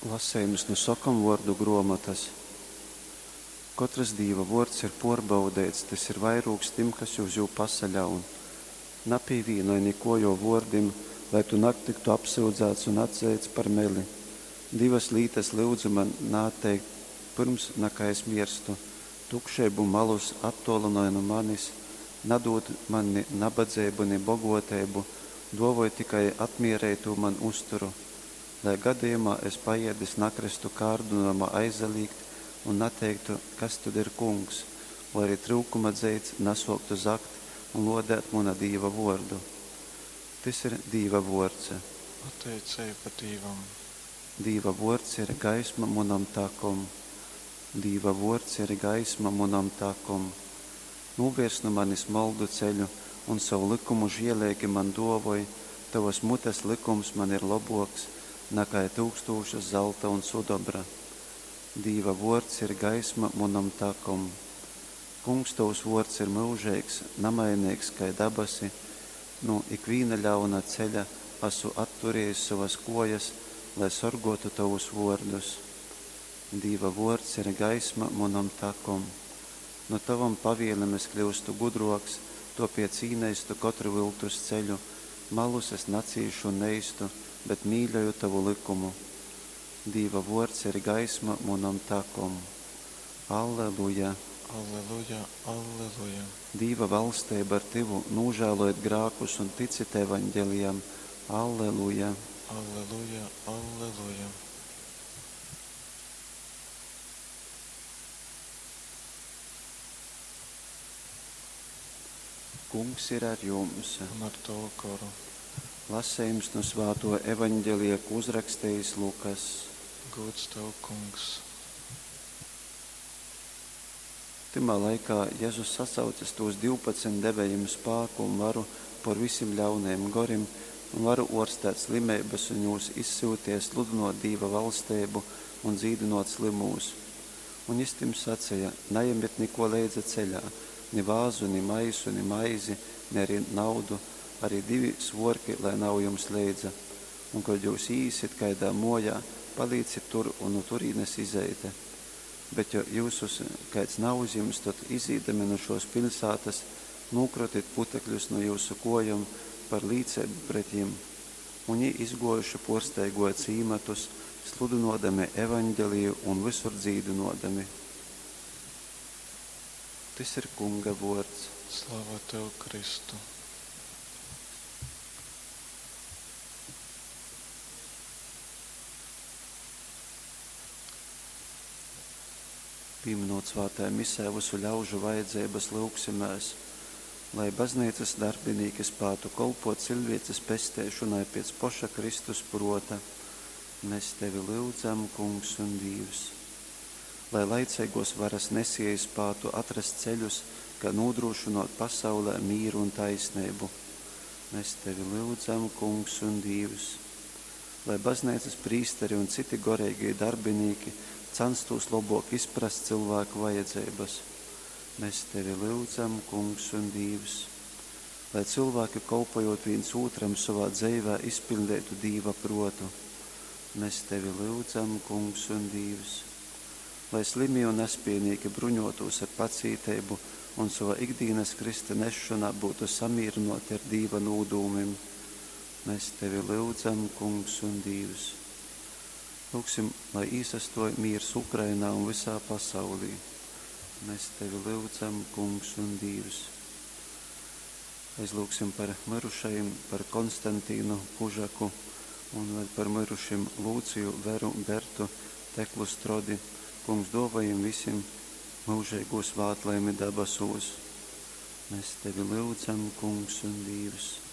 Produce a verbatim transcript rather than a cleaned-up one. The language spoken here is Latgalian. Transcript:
Lasejums nu Sokomvuordu gruomotys. Kotrys Dīva vuords ir puorbaudeits, tys ir vairūgs tim, kas uz jū pasaļaun. Napīvīnoj nikuo juo vuordim, lai tu natyktu apsyudzāts un atzeits par meli. Divas lītas lyudzu man naatteikt, pyrms nakai es mierstu: tukšeibu un malus attōlynoj nu manis, nadūd man ni nabadzeibu, ni bogōteibu, dōvoj tikai atmiereitū man uzturu, lai gadejumā es paēdis nakrystu kārdynojumā aizalīgt un nateiktu, kas tod ir Kungs, voi arī tryukuma dzeits nasōktu zagt un lōdēt muna Dīva vōrdu. Tys ir Dīva vōrds. Pateiceiba Dīvam. Dīva vōrds ir gaisma munom takom. Dīva vōrds ir gaisma munom takom. Nūvērs nu manis moldu ceļu un sovu lykumu žieleigi man dōvoj, tovas mutes lykums man ir lobōks, nakai tyukstūšas zalta un sudobra. Dīva vōrds ir gaisma munom takom. Kungs, tovs vōrds ir myužeigs, namaineigs kai dabasi. Nu ikvīna ļauna ceļa asu atturējis sovas kōjas, lai sorgōtu tovus vōrdus. Dīva vōrds ir gaisma munom takom. Nu tovom pavielem es kļyustu gudrōks, tōpēc īneistu kotru vyltus ceļu. Malus es nacīšu un neistu, bet mīļoju tovu lykumu. Dīva vōrds ir gaisma munom takom. Alleluja! Alleluja, alleluja. Dīva valsteiba ir tyvu, nūžālojit grākus un ticit evaņgelijam. Alleluja! Alleluja, alleluja. Kungs ir ar jums. Un ar tavu goru. Lasejums nu svātuo evaņgelija, ko uzrakstījis Lukas. Gūds tev, Kungs. Tymā laikā Jezus sasaucis tūs divpadsmit deve jim spāku un varu pōr visim ļaunajim gorim un varu ōrstēt slimeibas un jūs izsyuteja sludynōt Dīva valsteibu un dzīdynōt slymūs. Un jys tim saceja: Najemit nikō leidza ceļā, ni vāzu, ni maisu, ni maizi, ni ari naudu, ari divi svōrki lai nav jums leidza. Un kod jyus īīsit kaidā mōjā, palīcit tur un nu turīnes izeite. Bet jo jyusus kaids nauzjims, tod, izīdami nu šōs piļsātas, nūkrotit putekļus nu jyusu kōjom par līceibu pret jim. Un jī izgōjuši pōrstaigōja cīmatus, sludynōdami evaņgeliju un vysur dzīdynōdami. Tys ir Kunga vōrds. Slava tev, Kristu. Pīminot svātajā misē vysu ļaužu vajadzeibas, lyugsimēs, lai Bazneicas darbinīki spātu kolpōt ciļvēces pesteišonai pēc poša Kristus prōta. Mes tevi lyudzam, Kungs un Dīvs. Lai laiceigōs varas nesēji spātu atrast ceļus, kai nūdrūšynōt pasaulē mīru un taisneibu. Mes tevi lyudzam, Kungs un Dīvs. Lai Bazneicas prīsteri un citi goreigī darbinīki canstūs lobōk izprast cylvāku vajadzeibas. Mes tevi lyudzam, Kungs un Dīvs. Lai cylvāki, kolpojot vīns ūtram sovā dzeivē, izpiļdeitu Dīva prōtu. Mes tevi lyudzam, Kungs un Dīvs. Lai slimī un nespiejnīki bruņotūs ar pacīteibu un sova ikdīnas krysta nesšonā būtu samīrynōti ar Dīva nūdūmim. Mes tevi lyudzam, Kungs un Dīvs. Lyugsim, lai īsastōj mīrs Ukrainā un vysā pasaulī. Mes tevi lyudzam, Kungs un Dīvs. Aizlyugsim par myrušajim, par Konstantīnu Kužaku un vēl par myrušim Lūciju, Veru, Bertu, Teklu Strodi. Kungs, dōvoj jim visim myužeigū svātlaimi dabasūs. Mēs tevi lyudzam, Kungs un Dīvs.